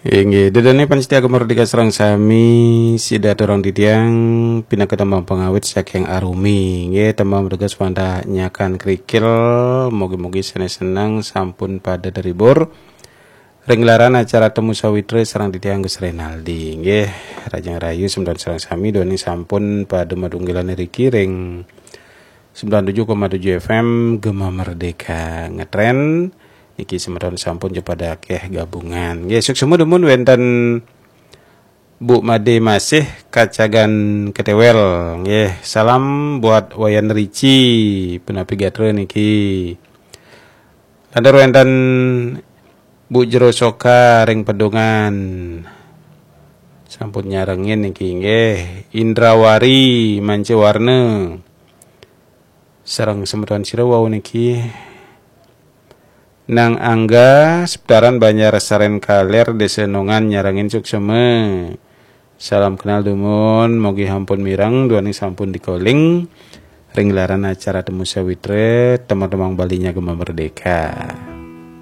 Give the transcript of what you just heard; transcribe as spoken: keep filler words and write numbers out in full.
Inggih, ida dané pamiarsa Gema Merdeka sareng sami, sida aturang titiang pinaka tembang pangawit saking Arumi. Inggih, tembang merdeka wantah nyakan kerikil, mugi-mugi sané seneng sampun pada terhibur. Ring gelaran acara Temu Sawitra sareng titiang Gus Renaldi. Inggih, rahajeng rahayu semeton sareng sami, duaning sampun pada madunggilan riki ring sembilan tujuh koma tujuh F M Gema Merdeka ngetren. Niki semeton sampun pada akeh gabungan. Nggih, suksma dumun wénten Bu Made Masih Kacagan Ketewel. Nggih, salam buat Wayan Rici, punapi gatra niki. Lantur wénten Bu Jero Soka ring Pedungan. Sampun nyarengin niki nggih. Indrawari Manca Warna. Sareng semeton sira wau niki. Nang Angga, Seputaran Banjar Saren Kaler, Desa Nongan, nyarengin suksma. Salam kenal dumun, mugi sampun mireng, duaning sampun dikoling. Ring gelaran acara Temu Sawitra, tembang-tembang Balinya Gema Merdeka.